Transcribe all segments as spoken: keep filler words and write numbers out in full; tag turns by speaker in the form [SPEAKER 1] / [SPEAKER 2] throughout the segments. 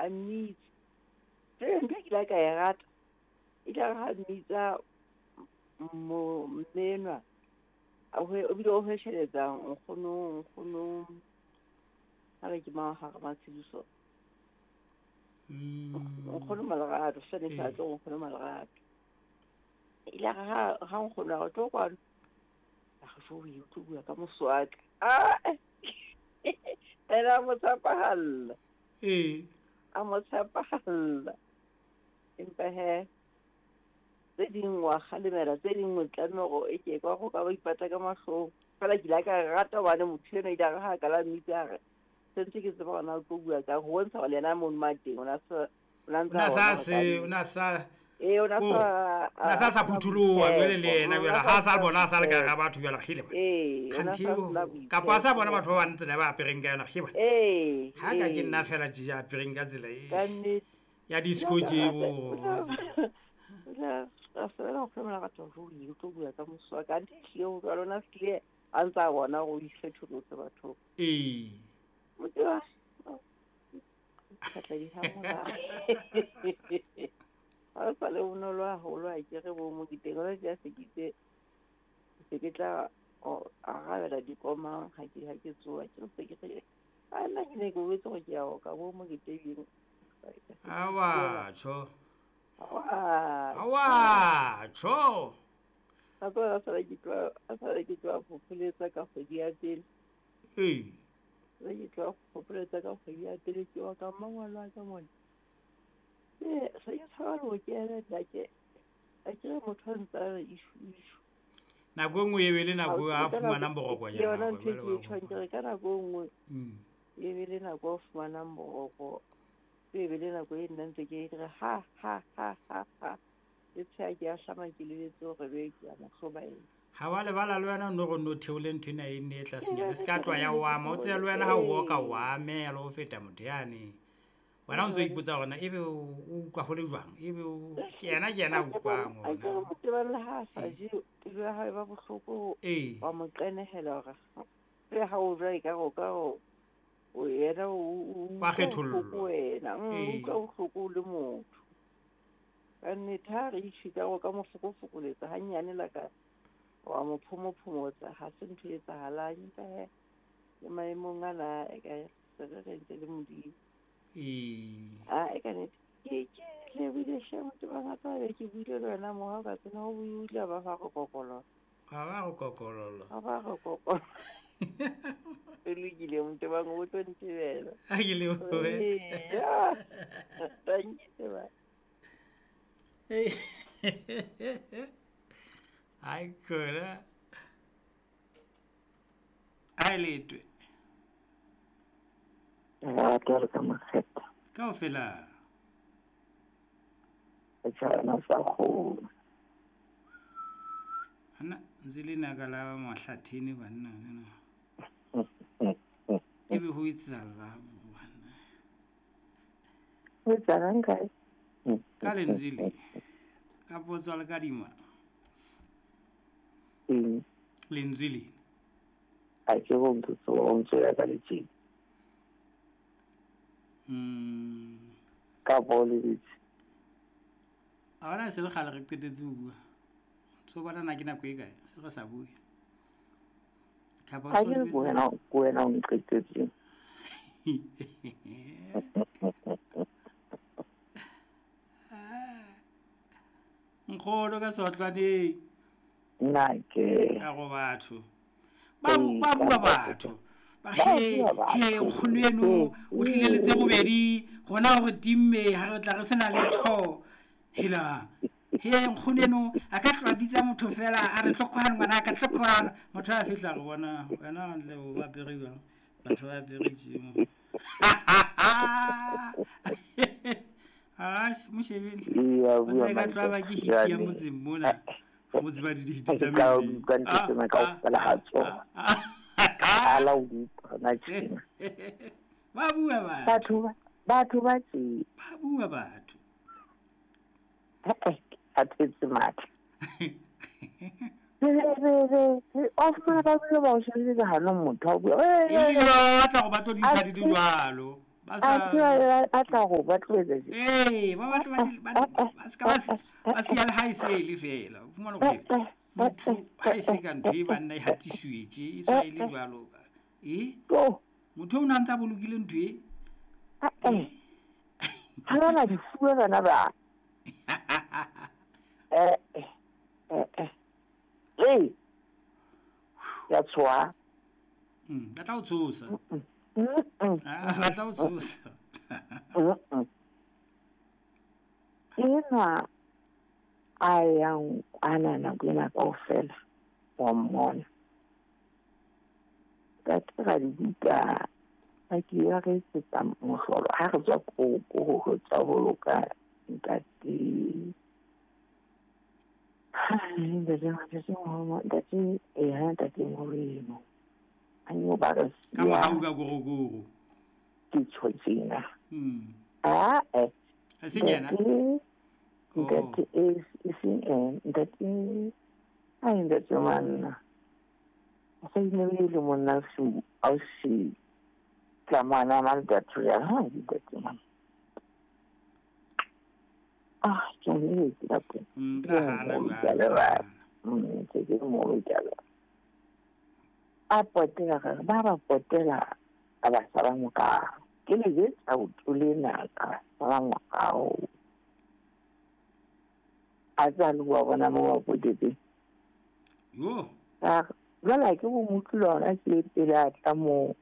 [SPEAKER 1] A mmitsa. Jwale ntho e ke ile ka e rata e tla re ha mmitsa mo mmenwa a ho o bile o hwesheletsa nkgono nkgono ha re ke mang ha re Matshidiso. Nkgono Malerato sene sa tlo nkgono Malerato. Ile re ha ha nkgono a re tlo kwano. A re jo o tlo bua ka moswaka. Ah! Ena mo tshepahalla.
[SPEAKER 2] Ee.
[SPEAKER 1] A mo tshepahalla. Empa he tse ding wa kgalemela tse ding o tlameha hore e ke ka go ka ba ipata ka mahlong. Fela ke ile ka rata hobane motho ena ile a re ha ka la mmitsa a re sentse ke tseba hore na o tlo bua ka ho bontsha hore le yena mono ma teng o na sa o na ntsa
[SPEAKER 2] O na sa se o na sa
[SPEAKER 1] ee o na
[SPEAKER 2] o
[SPEAKER 1] sa
[SPEAKER 2] na sa sa phutholoha jwale le yena jwale ha sa bona a sa le ka hara batho jwale kgele bana.
[SPEAKER 1] Ee, o na
[SPEAKER 2] Kganthe
[SPEAKER 1] sa
[SPEAKER 2] o
[SPEAKER 1] sena
[SPEAKER 2] kapa a sa bona
[SPEAKER 1] boitshepo.
[SPEAKER 2] batho ba bang tsela ba apereng ka yona kgele bana.
[SPEAKER 1] Ee,
[SPEAKER 2] Ha ka ke
[SPEAKER 1] ee.
[SPEAKER 2] nna fela tje ya apereng ka tsela e
[SPEAKER 1] Ka nnete.
[SPEAKER 2] ya
[SPEAKER 1] Ke
[SPEAKER 2] disco
[SPEAKER 1] ile ka
[SPEAKER 2] tje
[SPEAKER 1] rata
[SPEAKER 2] bo
[SPEAKER 1] o tla o tla a sebela nkgono Malerato hore o tlo bua ka moswaka. Anthe ehlile ho jwalo o na fihlile a ntsa bona hore o ikgetholotse bathong.
[SPEAKER 2] Ee.
[SPEAKER 1] Motho wa ka tla di hamola. Ha o sa le bonolo haholo ha ke re bo Moketeng hona tje se ke itse se ke tla arabela dikomang ha ke ha ke tsoha ke se ke re a nna ke ne ke boletse hore ke ya oka bo Moketeng.
[SPEAKER 2] Awa tjho.
[SPEAKER 1] Awa.
[SPEAKER 2] Awa tjho.
[SPEAKER 1] A tswa a sala ke tloha a sala ke tloha phopholetsa ka kgwedi ya pele.
[SPEAKER 2] Ee.
[SPEAKER 1] Se ke tloha phopholetsa ka kgwedi ya pele ke wa ka mmangwane wa ka mona. Ee, se ke tshaba le ho kena ntate. A ke re motho a ntsa re ishu ishu.
[SPEAKER 2] Nako e nngwe e be le
[SPEAKER 1] Ha
[SPEAKER 2] nako
[SPEAKER 1] o
[SPEAKER 2] a
[SPEAKER 1] tsebe ka nako
[SPEAKER 2] fumanang
[SPEAKER 1] ke
[SPEAKER 2] borokonyana
[SPEAKER 1] yona
[SPEAKER 2] hore
[SPEAKER 1] ntho e
[SPEAKER 2] jwale
[SPEAKER 1] ke
[SPEAKER 2] wa
[SPEAKER 1] e tjhong ke re ka nako e nngwe
[SPEAKER 2] Mm.
[SPEAKER 1] e be le nako o fumanang boroko. E be le nako e nna ntse ke re ha ha ha ha ha. Ke tsheha ke ahlama ke lebetse hore be ke ya mo hlobaela.
[SPEAKER 2] Ha wa lebala le wena o no re no theole ntho ena e nne e tlasenyana. Se ka tloha ya o ama. O tsebe le wena ha o oka o amela ho feta motho yane. Wena o ntso ipotsa hore na ebe o utlwa ho le jwang? Ebe o ke yena ke yena a utlwang
[SPEAKER 1] A ke re
[SPEAKER 2] hore na.
[SPEAKER 1] Motebang le ha a sa je pelo ya hae ba bohloko
[SPEAKER 2] Ee.
[SPEAKER 1] wa mo qenehela hore le ha o ja ekare o ka o o yena o o
[SPEAKER 2] Wa
[SPEAKER 1] utlwa bohloko
[SPEAKER 2] kgethollwa.
[SPEAKER 1] wena. Mm, o
[SPEAKER 2] Ee.
[SPEAKER 1] utlwa bohloko o le motho. Ka nnete ha re itjhe ka o ka mo fokofokoletsa hanyane la ka wa mo phomophomotsa ha se ntho e etsahalang. Empa he le maemong ana e ka se re re ntse le Modimo.
[SPEAKER 2] Ee.
[SPEAKER 1] Ah, e ka nnete. Ke ke lebohile hle Motebang a tla be ke buile le wena mo ha o ka tsena ho bue o ile ba fa re kokolola.
[SPEAKER 2] Ha ba re kokolola.
[SPEAKER 1] Ha ba re kokolola. E lokile Motebang o tlo ntebela.
[SPEAKER 2] Ha ke lebohe.
[SPEAKER 1] Eya. Thank you Tebang.
[SPEAKER 2] Ai khona. Ai letwe.
[SPEAKER 3] Lerato le ka makgetha.
[SPEAKER 2] Kaofela.
[SPEAKER 3] Setjhaba sa kgolo.
[SPEAKER 2] Hana ntse le naka la mahlathini banna lena. Ebe ho etsahala banna.
[SPEAKER 3] Ho etsahalang kae?
[SPEAKER 2] Ka lentswe le. Ka potso le kadima.
[SPEAKER 3] Eng?
[SPEAKER 2] Lentswe le.
[SPEAKER 3] Ha ke go ntse o ntse ya ka letjeng.
[SPEAKER 2] Mm.
[SPEAKER 3] Ka bo le ditse.
[SPEAKER 2] A bona se le kgale re qetetse ho bua. Tso bona na ke nako e kae? Se re sa bue. Kapa
[SPEAKER 3] Ha
[SPEAKER 2] o
[SPEAKER 3] ke
[SPEAKER 2] so
[SPEAKER 3] re ko wena, ko wena o nqetetseng.
[SPEAKER 2] Nkgono ka sotlwaneng.
[SPEAKER 3] Nna ke.
[SPEAKER 2] Ka go batho. Ba ba bua batho. Ba he he nkgono eno o tlile le tse bobedi gona hore timme ha re tla re sena letho. Hela. He nkgono eno a ka tloha bitsa motho fela a re tlo kwano ngwana ka tlo kwano. Motho a fihla re bona wena le o ba apere jwang? Batho ba apere tje mo. Ah, mo shebeng hle.
[SPEAKER 3] Iya,
[SPEAKER 2] O
[SPEAKER 3] bua
[SPEAKER 2] tsebe ka tloha ba ke hiti ya motseng mona. Motse ba di dihiti tsa
[SPEAKER 3] Ka
[SPEAKER 2] metseng.
[SPEAKER 3] utlwa ntho tsena kaofela ha tsona. Qala o utlwa hona tjena.
[SPEAKER 2] Ba bua batho.
[SPEAKER 3] Batho ba, batho ba tje.
[SPEAKER 2] Ba bua batho.
[SPEAKER 3] Eh, a thetse matla. Re, re, re, re, o fumana ba bile ba o shebile ka hanong motho a bua.
[SPEAKER 2] Ehlile ba batla hore ba tlo di ntsha di le jwalo. Ba sa
[SPEAKER 3] a tla go ba tloetsa
[SPEAKER 2] ee ba batla ba ba ska ba ba siya le ha e se le fela o fumana gore motho ha e se ka ntho e banna e hatiswetse e tswa e le jwalo ka e motho o na ntse a bolokile ntho e
[SPEAKER 3] ha ba di fuwe bana ba eh eh eh eh ya tswa
[SPEAKER 2] mm ba tla o tshosa ah ba tla o tshosa
[SPEAKER 3] ena a yang kwana nako ena kaofela wa mmona ka tira dibuka a ke ya re etsetsa mohlolo ha re tswa ko ko ho tswa boloka ntate ntate ntate eh ntate Moreno a nyo ba re
[SPEAKER 2] ka mohau ka gorogoro
[SPEAKER 3] ke tshotsina
[SPEAKER 2] mm
[SPEAKER 3] ah eh
[SPEAKER 2] a se nyana
[SPEAKER 3] ntate e seng eh ntate a ntate manna a sa ile le monna su a si tlamana ma ntate ya ha ntate manna ah ke ne ke la ko
[SPEAKER 2] mm tla hana jwale
[SPEAKER 3] mm ke ke mo ke a potela ba ba potela a ba sala moka ke le jetsa o tsole ka sala moka a tsa le wa bona mo wa potetse
[SPEAKER 2] yo
[SPEAKER 3] a jwale ke bo motlo ona ke pele a tla mo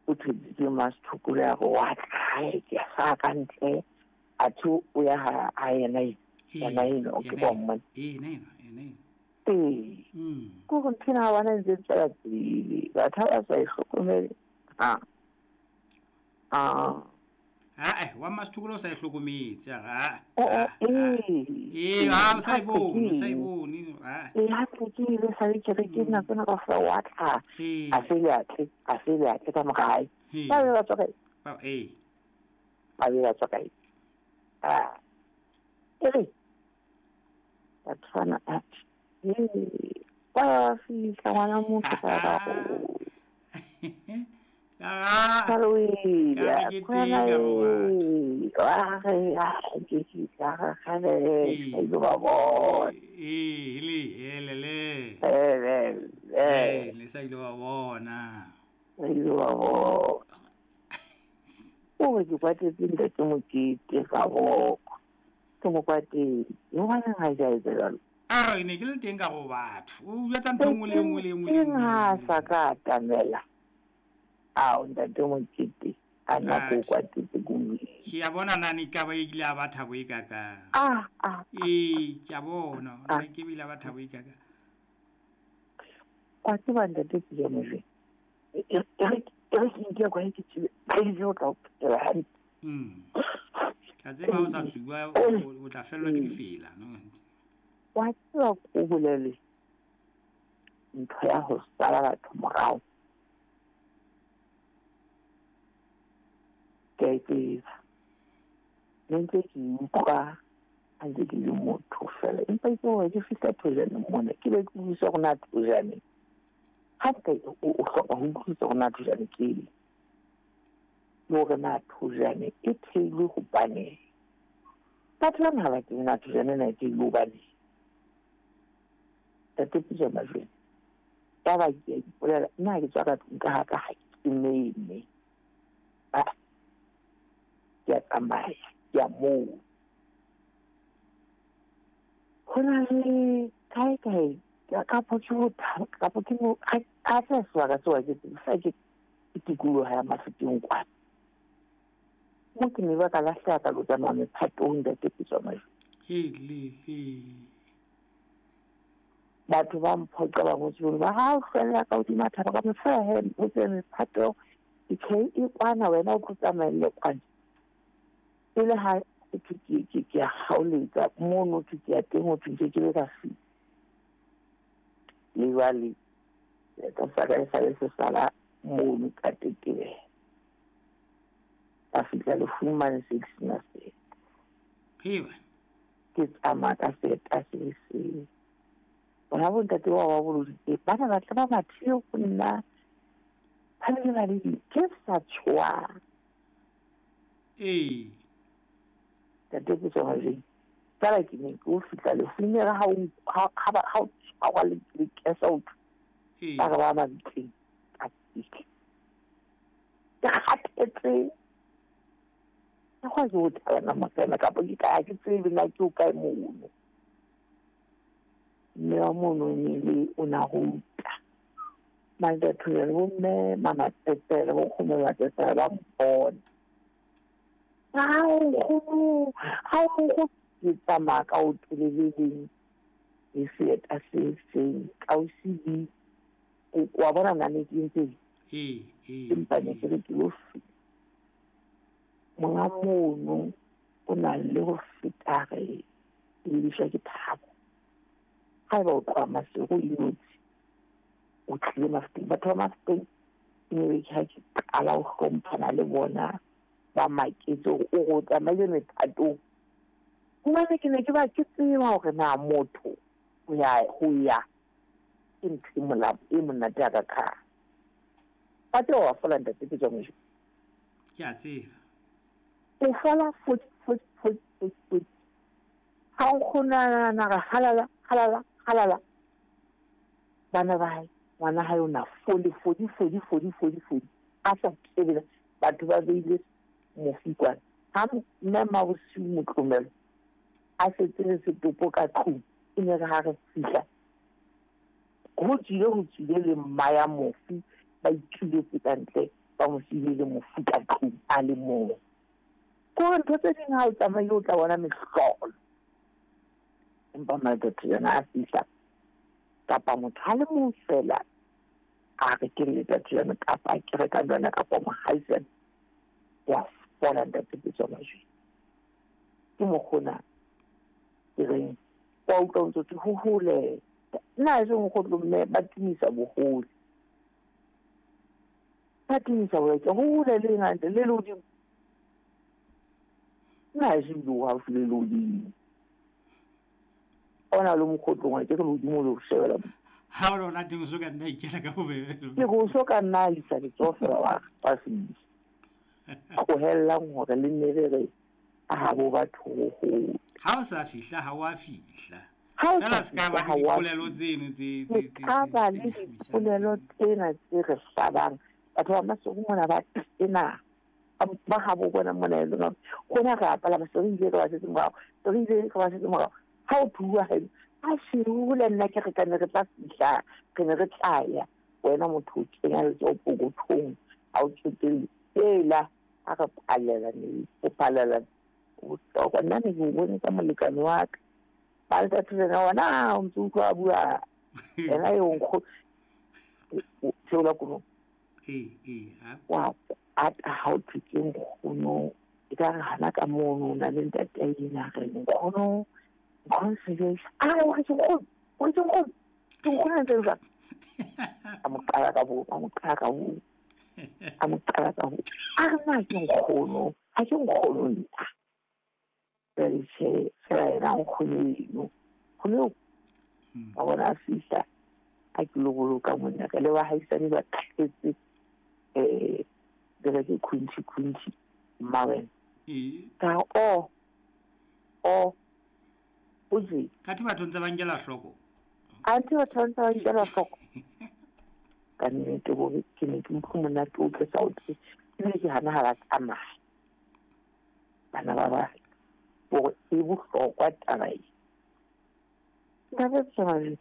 [SPEAKER 3] o theditse masthukule ya go wa tla ke sa ka ntle a thu o ya ha a yena yena eno ke bo mmone
[SPEAKER 2] e nena e nena
[SPEAKER 3] ee
[SPEAKER 2] mm
[SPEAKER 3] ko go nthina ba na ntse tsela pele batho ba sa ihlokomele ha ah
[SPEAKER 2] ah eh wa masthukule o sa ihlokometse ha
[SPEAKER 3] ee
[SPEAKER 2] ee ha o sa e bone o sa e bone ha
[SPEAKER 3] ee ha ke ke ile sa le ke re ke nako ena kaofela wa tla a se le atle a se le atle ka mogae ba be ba tswa kae
[SPEAKER 2] ba ee
[SPEAKER 3] ba be ba tswa kae ah e re batho bana a ee ba fitlha ngwana motho ka ka go
[SPEAKER 2] ah
[SPEAKER 3] ka
[SPEAKER 2] ke teng ka bo batho
[SPEAKER 3] ah re ah ke ke ka ga le ke ba bona
[SPEAKER 2] ee le ele le
[SPEAKER 3] ele
[SPEAKER 2] ee le sa ile wa bona
[SPEAKER 3] ile wa bona o ke kwatetse ntate Mokete ka boko ke mo kwatetse ngwana ga ja etsa jalo
[SPEAKER 2] a re ne ke le teng ka go batho o jwetsa ntho nngwe le nngwe le nngwe le
[SPEAKER 3] nngwe ha sa ka atamela ao ntate Mokete a na ko kwatetse kume
[SPEAKER 2] ke a bona nane ka ba ile a ba thabo e kaka
[SPEAKER 3] ah ah
[SPEAKER 2] ee ke a bona nna ke bile ba thabo e kaka
[SPEAKER 3] kwa tseba ntate Pijamojwe e re ke nke kwa ke tsebe ba ile o tla phela hantle
[SPEAKER 2] mm ka tseba o sa tsuba o tla fellwa ke difela no
[SPEAKER 3] wa tseba ko bolele ntho ya ho sala batho morao ke a e tseba ne ntse ke utlwa ha ntse ke le motho fela empa itse hore ke fihla thojaneng mona ke be ke utlwisisa hore na thojaneng hape o hloka ho utlwisisa hore na thojane ke eng le hore na thojane e theilwe hobaneng batho bana ha ba tsebe na thojane ena e theilwe hobaneng ntate Pijamajwe taba ke a ipolela nna ha ke tswa ka tlung ka haka ha ke meme ah ke a tsamaya ke a moo ho na le kae kae kapo ke ho kapo ke mo a tla sebaka seo ha ke tsebe sa ke tikoloho ya Mafeteng kwana mo ke ne ba ka lahleha ka lo tsamaya mephatong ntate Pijamajwe
[SPEAKER 2] he le le
[SPEAKER 3] batho ba mphoqa ba ngotse ba ha o hlwella ka hodima thaba ka mofela he o tse mephato ke e kwana wena o tlo tsamaelle kwana e le ha ke ke ke ke a kgaoletsa mono ke ke ya teng ho thwe ke ke be ka fihla le jwale ka sa ka e sale se sala mono ka tetebela ka fihla lefung mane se ke sena seeta
[SPEAKER 2] heba
[SPEAKER 3] ke tsamaya ka seeta se le seng bona bontate bao ba boloditse ba ne ba tla ba mathile go nna ba bile ba le ke sa tshoha
[SPEAKER 2] Ee.
[SPEAKER 3] Ntate Petso fela ke ne ke o fihla lefung re ha o ha ha o tshwarwa le kesa o ba re ba mabitleng ka fihla. Ke kgathetse. Ke kwa ke o thabana morena kapa ke ka ke tsebe na ke o kae mono. Mme wa mono ne le o na ruta. Maldathulela bo mme mamatsetsela bo nkgono ba tsetsela ba mpona. Hao nkgono, hao nkgono. Ke tsamaya ka o le leng le seeta se seng ka o se wa bona na ne ke ntse
[SPEAKER 2] ee ee
[SPEAKER 3] empa ne ke re ke lo fihla. Monga mono o na le ho feta re lebiswa ke thabo. Haeba o tloha Maseru o inotshi o tlile Mafikeng. Batho ba Mafikeng ke ne ke ha ke qala ho hlomphana le bona ba maketse hore o re o tsamaile mephatong. Hobane ke ne ke ba ke tseba hore na motho ho ya ho ya ke ntho e molao e monate ya ka kgang. Pate wa fola ntate Petso Mojwe.
[SPEAKER 2] Ke a tseba.
[SPEAKER 3] O fola fodi fodi fodi fodi fodi. Ha o kgona na re halala halala halala. Bana ba hae ngwana hae o na foli fodi fodi fodi fodi fodi. A sa tsebe batho ba beile mofi kwana. Ha mme Mabosiu Motlomelo a setse le setopo ka tlung e ne re ha re fihla ho tswile ho tswile le mma ya mofi ba ituletse ka ntle ba mo siile le mofi ka tlung a le mong. Ke hore ntho tse ding ha o tsamaile o tla bona mehlolo. Empa madoda yona a fihla kapa motho a le mong fela a re ke letsatsi lena kapa ke reka lona kapa mohaisane wa fola ntate Petso Mojwe. Ke mokgona ke reng wa utlwa o ntso thwe ho hole nna e seng nkgotlo mme ba tumisa bohole. Ba tumisa bohole ho hole le hantle le lehodimo. Nna e seng le haufi le lehodimo. Ona le mokgotlong wa ke re lehodimo le ho shebela.
[SPEAKER 2] Ha o lona teng o so ka nna ikela ka bobebe.
[SPEAKER 3] Ke go so ka nna isa letsoho fela wa wa fihla. Tlohellang hore le nne re re ha bo batho ho hole.
[SPEAKER 2] Ha o sa fihla ha wa fihla.
[SPEAKER 3] Ha o
[SPEAKER 2] Fela
[SPEAKER 3] sa
[SPEAKER 2] se ka ba
[SPEAKER 3] fihla
[SPEAKER 2] le
[SPEAKER 3] ha wa
[SPEAKER 2] dipolelo tseno tse
[SPEAKER 3] Se
[SPEAKER 2] tse tse
[SPEAKER 3] ka
[SPEAKER 2] tse
[SPEAKER 3] ba
[SPEAKER 2] tse
[SPEAKER 3] le
[SPEAKER 2] nyahamisang
[SPEAKER 3] dipolelo
[SPEAKER 2] tseno.
[SPEAKER 3] tsena tse re hlabang. Batho ba Maseru mona ba tena. Ba habo bona mona e leng hore rona re a palama se re ile re ba setse morao. Se re ile re ba setse morao. Ha o bua haeno a hole nna ke re ka ne re tla fihla re ne re tla ya. Wena motho o kenya letsoho pokothong ha o tsotelle. Ela ha re palela ne o palela bohlokwa. Nna ne ke o bone ka molekane wa ka. Ba letsatsi lena wena o ntso utlwa a bua yena eo nkgo theola koloi.
[SPEAKER 2] Ee ee ha.
[SPEAKER 3] Wa ata ha o thwe ke nkgono e ka re hana ka mono o na le ntate ena re nkgono nkgono Sejoe. A o re ke nkgono o re ke nkgono ke nkgono a ntse jwang. A mo qala ka bo a mo qala ka bo a mo qala ka bo a re na ke nkgono ha ke nkgono nna. Jwale tjhe fela yena nkgono eno nkgono eo wa bona a fihla a ke lo boloka monna ka le bahaisane ba tletse eh re ke khunchi khunchi mma wena.
[SPEAKER 2] Ee.
[SPEAKER 3] Ka o o o je
[SPEAKER 2] Kathe batho ntse ba nkela hloko.
[SPEAKER 3] Anthe batho ba ntse ba nkela hloko. Ka nnete hore ke ne ke utlwe monate o ke sa o tsebe. Ebile ke hana ha ba tsamaya. Bana ba ba hore e bohlokwa taba e. Ntate Tshwane.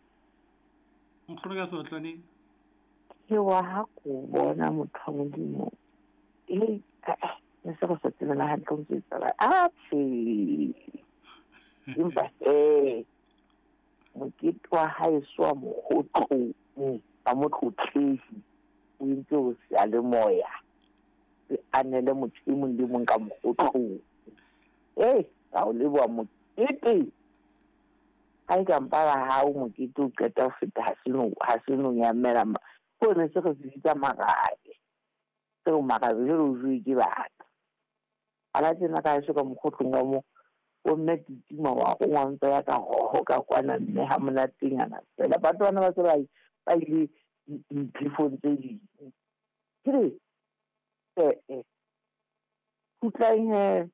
[SPEAKER 2] Nkgono ka seotlwaneng.
[SPEAKER 3] Ke wa ha ko bona motho wa Modimo. E ne se re sa tsebana hantle o ntse etsahala. Atjhe. Empa eh mokete wa haeso wa mokgotlong ba motlotlehi o entse hore seyalemoya se anele motho e mong le mong ka mokgotlong. Ee, ka o leboha mokete. Ha e ka mpa ba hao mokete o qeta ho feta ha se no ha se no nyamela ma. Ko ne se re se bitsa marabe. Seo marabe jwale o jowe ke batho. Ala tjena ka heso ka mokgotlong ka moo o mme titima wa go ngwa ya ka hoho ka kwana mme ha monatenyana fela. Batho bana ba se ba ba ile diphefong tse ding. Ke re eh eh Kgutlang he.